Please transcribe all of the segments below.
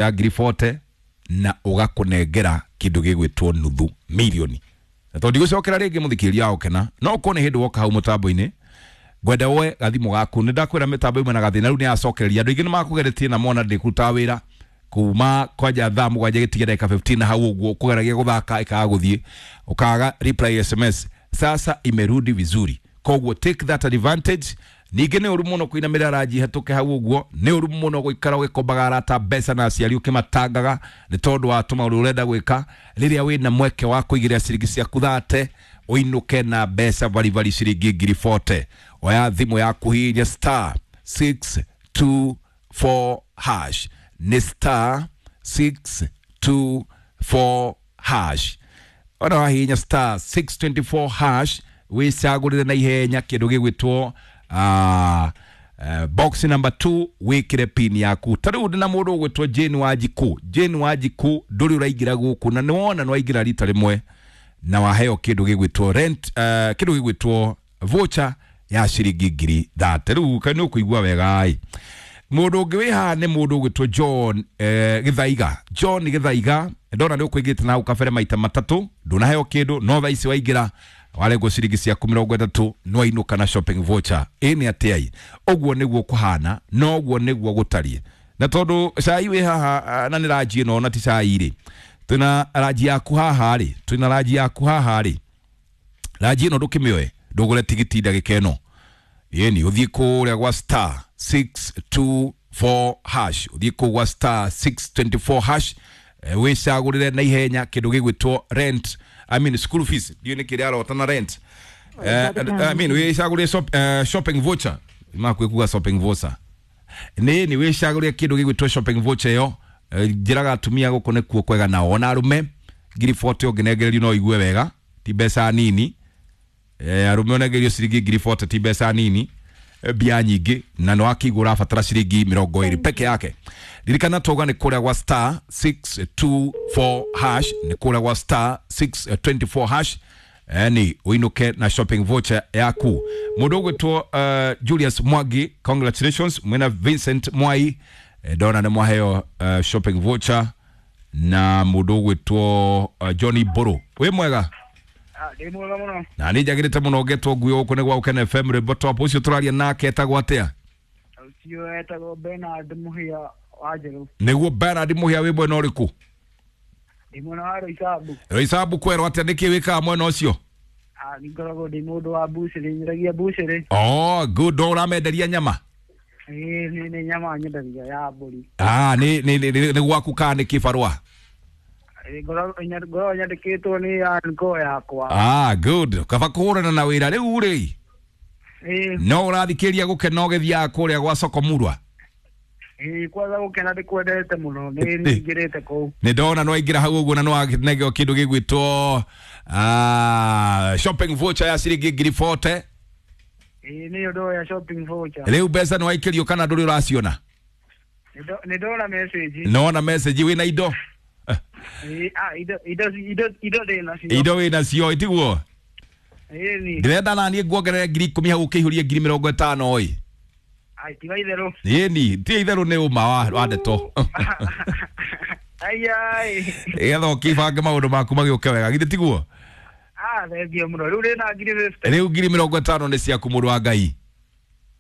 Ya ngiri 40 na ũgakũnengera kĩndũ gĩgwĩtwo nuthu milioni. Na tondũ ndigũcokera rĩngĩ mũthikĩrĩria wa gũkena, no ũkorwo nĩ hĩndĩ woka hau mũtambo-inĩ, ngwenda woe gathimũ gaku. Nĩ ndakwĩra mĩtambo ĩmwe na gathĩna, rĩu nĩ yacokereria. Andũ aingĩ nĩ makũgeretie na mona ndĩkũrutaga wĩra kuma kwanja thaa 7 gĩtige ndagĩka 15 na hau ũguo kũgeragia gũthaka ĩkaga gũthiĩ ũkaga reply SMS. Sasa imerudi vizuri, koguo take that advantage. Ningĩ nĩ ũru mũno kũinamĩrĩra ranji hetũke hau ũguo, nĩ ũru mũno gũikara ũgĩkombaga arata mbeca na aciari ũkĩmatangaga nĩ tondũ wa tũmaũndũ ũrenda gwĩka, rĩrĩa wĩna mweke wa kũigĩrĩra ciringi ciaku thate ũinũke na mbeca baribari ciringi ngiri 40. Oya thimũ yaku, hihinya star 624 hash, nĩ star 624 hash. Ona wahihinya star 624 hash, wĩcagũrĩre na ihenya kĩndũ gĩgwĩtwo box number 2, wĩkĩre pin yaku. Ta rĩu ndĩna mũndũ ũgwĩtwo Jane Wanjikũ. Jane Wanjikũ, ndũrĩ ũraingĩra gũkũ na nĩwona nĩwaingĩra rita rĩmwe na waheo kĩndũ gĩgwĩtwo rent, kĩndũ gĩgwĩtwo voucher ya ciringi ngiri thate. Rĩu kaĩ nĩ ũkũigua wega ĩ. Mũndũ ũngĩ wĩ haha nĩ mũndũ ũgwĩtwo John Gĩthaiga. John Gĩthaiga, ndona nĩ ũkũingĩrĩte na hau kabere maita matatũ, ndũnaheo kĩndũ, no thaa ici waingĩra warengwo ciringi ciaku 30, nĩwainũka na shopping voucher. Ĩ nĩ atĩa? Ũguo nĩguo kũhana, noguo nĩguo gũtariĩ. Na tondũ cai wĩ haha, na nĩ ranji ĩno na ti cai rĩ, twĩna ranji yaku haha rĩ, twĩna ranji yaku haha rĩ, ranji ĩno ndũkĩmĩoe, ndũgũre tigiti ndagĩka ĩno. Yeni ũthiĩ kũrĩa gwa star 624 hash, ũthiĩ kũu gwa star 624 hash, wĩcagũrĩre na ihenya kĩndũ gĩgwĩtwo rent, I mean school fees, ndiũ nĩ kĩrĩa arota na rent, I mean wĩcagũrĩre shopping voucher, makwĩ shopping voucher nĩ wĩcagũrĩre kĩndũ gĩgwĩtwo shopping voucher ĩyo. Njĩraga atumia gũkũ nĩkuo kwega nao, ona arũme ngiri 40 ũngĩnengererio no igue wega, ti mbeca nini. Arũme ũnengerio ciringi ngiri 40 ti mbeca nini, mbia nyingĩ, na nĩ wakĩigua ũrabatara ciringi 20 peke yake. Ririkana twauga nĩ kũrĩa gwa star 624 hash, nĩ kũrĩa gwa star 624 hash ni ũinũke na shopping voucher yaku. Mũndũ ũgwĩtwo Julius Mwangi, congratulations. Mwena Vincent Mwai, ndona nĩ mwaheo shopping voucher, na mũndũ ũgwĩtwo Johnny Boro, wĩ mwega? Ndĩ mwega mũno. Na nĩ njagĩrĩte mũno ngetwo nguo gũkũ nĩ gwa Ũkene FM rwĩmbo top. Ũcio tũraria nake etagwo atĩa? Ũcio etagwo Bernard Mũhĩa wa Njerũ. Nĩguo Bernard Mũhĩa, wĩ mwena ũrĩkũ? Ndĩ mwena wa Roysambu. Roysambu kwerwo atĩa? Nĩkĩ wĩkaga mwena ũcio? Nĩ ngoragwo ndĩ mũndũ wa bucĩrĩ, nyendagia bucĩrĩ. Oh good, no ũramenderia nyama? Ĩĩ, nĩ nyama nyendagia ya mbũri. Ah, nĩ gwaku kana nĩ kĩbarũa? Ĩĩ, ngoragwo nyandĩkĩtwo nĩ anko yakwa. Ah good, kaba kũhũrana na wĩra rĩu rĩ. Ĩĩ. No ũrathikĩria gũkena ũgĩthiaga kũrĩa gwa soko murwa? Ĩĩ, kwanza gũkena ndĩkwendete mũno, nĩ ningĩrĩte kũu. Nĩ ndona nĩ waingĩra hau ũguo na nĩ wanengeo kĩndũ gĩgwĩtwo shopping voucher ya ciringi ngiri 40. Ĩĩ, nĩyo ndoya shopping voucher. Rĩu mbeca nĩ waikĩrio kana ndũrĩ ũraciona? Nĩ ndona message. Nona message, wĩna indo? Ĩĩ, indo ndĩ nacio. Indo wĩna cio, itiguo? Ĩĩ ni. Ndĩrenda naniĩ nguongerere ngiri 10 hau ũkĩihũrie ngiri 50 ĩ. Ai, tiga itherũ. Ĩni ti itherũ, nĩ ũma wa ndeto. Ai. Getha ũkĩbange maũndũ maku magĩũke wega, githĩ tiguo? Ah, thengio mũno. Rĩu ndĩ na ngiri 50. Rĩu ngiri 50 nĩ ciaku, mũndũ wa Ngai.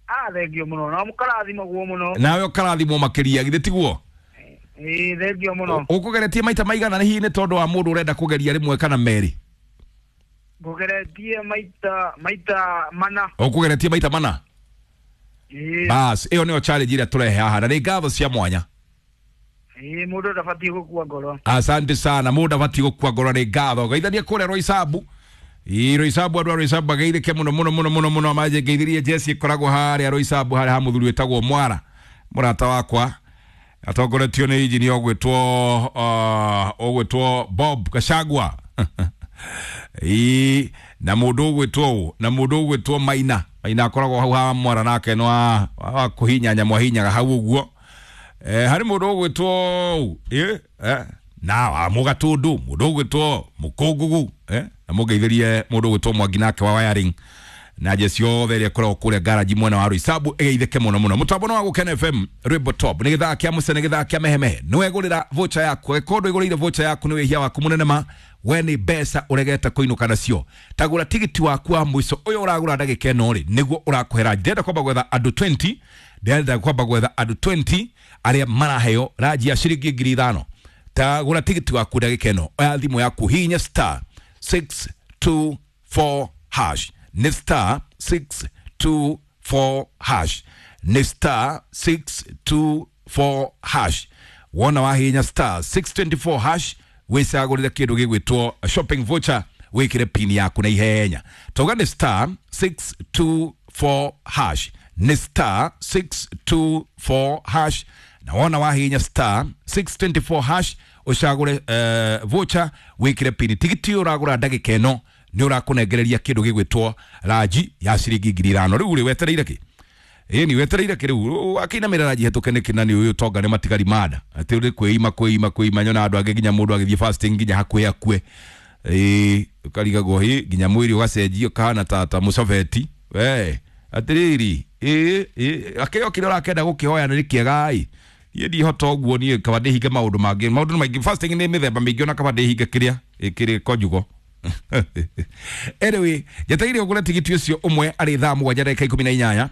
Ah, thengio mũno. Na mũkarathimagwo mũno. Nawe ũkarathimwo makĩria, githĩ tiguo? Ĩĩ, thengio mũno. Ũkũgeretie maita maigana? Nĩ hihi nĩ tondũ wa mũndũ ũrenda kũgeria rĩmwe kana merĩ? Ngũgeretie maita mana. Ũkũgeretie maita mana? Ĩĩ. Bas, ĩyo nĩyo challenge ĩrĩa tũrehe haha, na nĩ ngatho cia mwanya. Ĩĩ, mũndũ ndabatiĩ gũkua ngoro. Asante sana, mũndũ abatiĩ gũkua ngoro, nĩ ngatho. Geithania kũrĩa Roysambu. Ĩ Roysambu, andũ a Roysambu mageithĩke mũno mũno mũno mũno mũno. Manje ngeithirie Jesse ĩkoragwo harĩa Roysambu, harĩa ha mũthuri wĩtagwo Mwara, mũrata wakwa, atongoretio nĩ injinia ũgwĩtwo Bob Gachagua. Ĩ na mũndũ ũgwĩtwo ũ, na mũndũ ũgwĩtwo Maina. Maina akoragwo hau ha Mwara, nake nĩ wa kũhinya nyamũ, ahinyaga hau ũguo. Harĩ mũndũ ũgwĩtwo ũ, na wa mũgatũndũ, mũndũ ũgwĩtwo mũkũngugu, na mũngeithĩrie mũndũ ũgwĩtwo Mwangi nake wa wiring. Na jeci yothe ĩrĩa ĩkoragwo kũrĩa garaji mwena wa Roysambu ĩgeithĩke mũno mũno. Mũtambo nĩ wa Gũkena FM, rwĩmbo top nĩ gĩthaa kĩa mũce, nĩ gĩthaa kĩa mehemehe. Nĩ wegũrĩra voucher yaku, angĩkorwo ndwĩgũrĩire voucher yaku nĩ wĩhia waku mũnene ma we nĩ mbeca ũregete kũinũka nacio. Tagũra tigiti waku wa mũico ũyũ ũragũra ndagĩka ĩno rĩ, nĩguo ũrakũhe ranji. Ndĩrenda kwamba gwetha andũ 20, ndĩrenda kwamba gwetha andũ 20 arĩa maraheo ranji ya ciringi 5,000. Tagũra tigiti waku ndagĩka ĩno, oya thimũ yaku, hihinya star 624 hash, nĩ star 624 hash, nĩ star 624 hash. Wona wahihinya star 624 hash, wĩcagũrĩre kĩndũ gĩgwĩtwo shopping voucher, wĩkĩre pin yaku na ihenya. Tauga nĩ star 624 hash, nĩ star 624 hash. Na wona wahihinya star 624 hash, ũcagũre voucher, wĩkĩre pin. Tigiti ũyũ ũragũra ndagĩka ĩno nĩ ũrakũnengereria kĩndũ gĩgwĩtwo ranji ya ciringi 5,000. Rĩu rĩ, wetereire kĩ? Ĩni wetereire kĩ rĩu akĩinamĩra ranji hetũke nĩkĩ? Na nĩ ũyũ tonga nĩ matigari manda atĩ ũrĩ kwĩima kwĩima kwĩima. Nyona andũ angĩ nginya mũndũ agĩthiĩ fasting nginya hakuhĩ akue. Ĩĩ, ũkarigagwo hĩ nginya mwĩrĩ ũgacenjia ũkahana ta mũcobeti we atĩrĩrĩ. Ĩĩ ĩĩ, akĩo kĩrĩa ũrakenda gũkĩhoya nĩ kĩega ĩ, niĩ ndihota ũguo, niĩ kaba ndĩhinge maũndũ mangĩ. Maũndũ nĩ maingĩ, fasting nĩ mĩthemba mĩingĩ, ona kaba ndĩhinge kĩrĩa kĩrĩ konjugo. Anyway, njetereire ũgũre tigiti ũcio ũmwe arĩ thaa 7 ndagĩka 18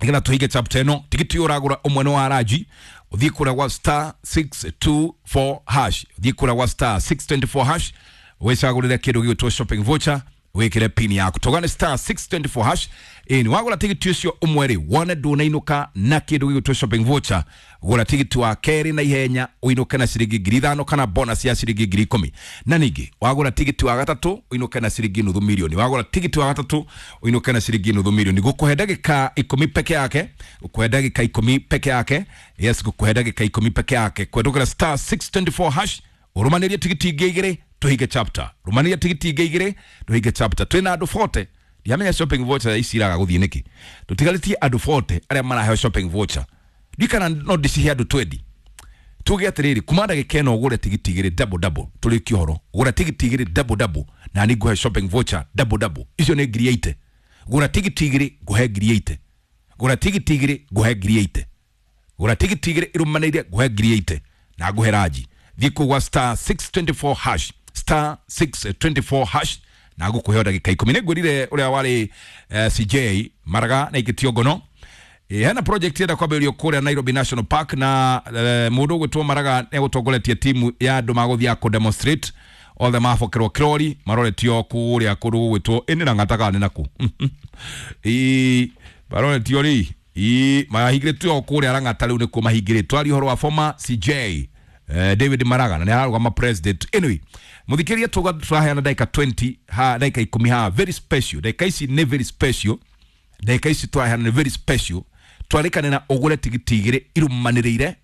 nĩgetha tũhinge chapter ĩno. Tigiti ũyũ ũragũra ũmwe nĩ wa ranji, ũthiĩ kũrĩa gwa star 624 hash, ũthiĩ kũrĩa gwa star 624 hash, wĩcagũrĩre kĩndũ gĩgwĩtwo shopping voucher, wĩkĩre pin yaku. Togane star 624 hash. Ĩni wagũra tigiti ũcio ũmwe rĩ, wone ndũnainũka na kĩndũ gĩgwĩtwo shopping voucher, gũra tigiti wa kerĩ na ihenya ũinũke na ciringi 5,000 kana bonus ya ciringi 10,000. Na ningĩ wagũra tigiti wa gatatũ ũinũke na ciringi nuthu milioni, wagũra tigiti wa gatatũ ũinũke na ciringi nuthu milioni. Gũkũhe ndagĩka 10 peke yake, gũkũhe ndagĩka 10 peke yake. Yes, gũkũhe ndagĩka 10 peke yake kwendũkĩra star 624 hash, ũrũmanĩrie tigiti ingĩ igĩrĩ tũhinge chapter, rũmanĩrie tigiti ingĩ igĩrĩ tũhinge chapter. Twĩna andũ 40, ndiamenya shopping voucher ici iraga gũthiĩ nĩkĩ. Tũtigarĩtie andũ 40 arĩa maraheo shopping voucher, ndikana no ndĩcihe andũ 20. Tuge atĩrĩrĩ, kuma ndagĩka ĩno ũgũre tigiti igĩrĩ double double, tũrĩkie ũhoro. Gũra tigiti igĩrĩ double double na nĩ ngũhe shopping voucher double double, icio nĩ 80,000. Gũra tigiti igĩrĩ ngũhe 80,000, gũra tigiti igĩrĩ ngũhe 80,000, gũra tigiti igĩrĩ irũmanĩire ngũhe 80,000 na ngũhe ranji. Thiĩ kũu gwa star 624 hash, star 624 hash, na ngũkũhe ndagĩka 10. Nĩ ngwĩrire ũrĩa warĩ CJ Maraga na ikĩtio ngono. Hena project ĩrenda kwambĩrĩrio kũrĩa Nairobi National Park na mũndũ ũgwĩtwo Maraga nĩ egũtongoretie timu ya andũ magũthiĩ kũ demonstrate othe mabokerwo kĩrori maroretio kũrĩa kũndũ gũgwĩtwo ĩnĩ na ng'ata nĩ nakũ. Ĩĩ, maroretio rĩ, ĩĩ, mahingĩrĩtio kũrĩa Lang'ata, rĩu nĩkuo mahingĩrĩtwo. Aria ũhoro wa former CJ David Maraga na nĩ ararũgama president. Anyway, mũthikĩria, tuga tũraheana ndagĩka 20 ha ndagĩka 10 ha very special. Ndagĩka ici nĩ very special, ndagĩka ici tũraheana nĩ very special. Twarĩkane na ũgũre tigiti igĩrĩ irũmanĩrĩire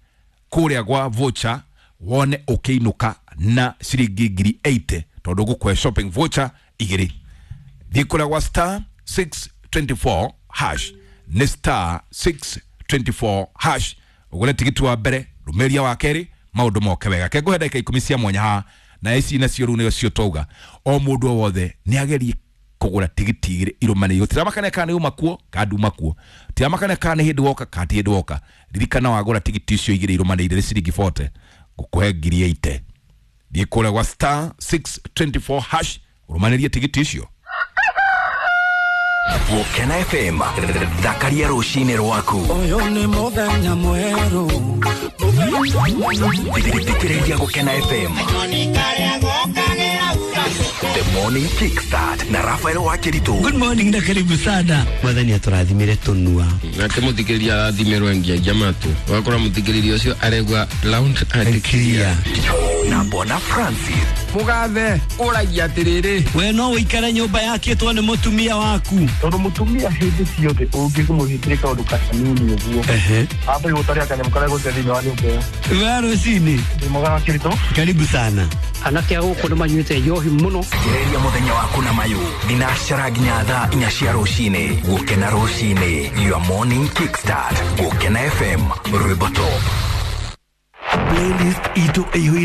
kũrĩa gwa voucher, wone ũkĩinũka na ciringi 80,000 tondũ ngũkũhe shopping voucher igĩrĩ. Thiĩ kũrĩa gwa star 624 hash, nĩ star 624 hash, ũgũre tigiti wa mbere, rũmĩria wa kerĩ, maũndũ moke wega. Ke ngũhe ndagĩka 10 cia mwanya haha, na ici nacio rĩu nĩcio twauga o mũndũ o wothe nĩ agerie kũgũra tigiti igĩrĩ irũmanĩrĩire. Gũtiramakania kana nĩ uma kuo kana nduma kuo, gũtiramakania kana nĩ hĩndĩ woka kana ti hĩndĩ woka, ririkana wagũra tigiti icio igĩrĩ irũmanĩrĩire nĩ ciringi 40, ngũkũhe 80,000. Thiĩ kũrĩa gwa star 624 hash, ũrũmanĩrie tigiti icio. Gũkena FM, thakaria rũcinĩ rwaku. Ũyũ nĩ mũthenya mwerũ. Thikĩrĩria Gũkena FM The Morning Kickstart na Rafael Wakiritu. Good morning na karibu sana. Mwathani atũrathimire tũnua. Nake mũthikĩrĩria arathimĩrwo ngiagia matũ, ũgakora mũthikĩrĩria ũcio aregua loud and clear. Na Bwana Francis. Mũgathe ũragia atĩrĩrĩ, We no ũikare nyũmba yakĩtwo nĩ mũtumia waku. Tondũ mũtumia hĩndĩ ciothe ũngĩmũhingĩre kaũndũ kanini ũguo, ambe gũtaria kanyamũ karĩa gũte thĩinĩ wa nyũmba ĩyo. We rũcinĩ. Ndĩ mwega Wakĩritũ. Karibu sana. Anake a gũkũ nĩ manyuĩte njohi mũno. Thikĩrĩria mũthenya waku na mayũ thinacara nginya thaa 4 cia rũcinĩ. Gũkena rũcinĩ, your morning kickstart. Gũkena FM, rwĩmbo top playlist itũ ĩihũire.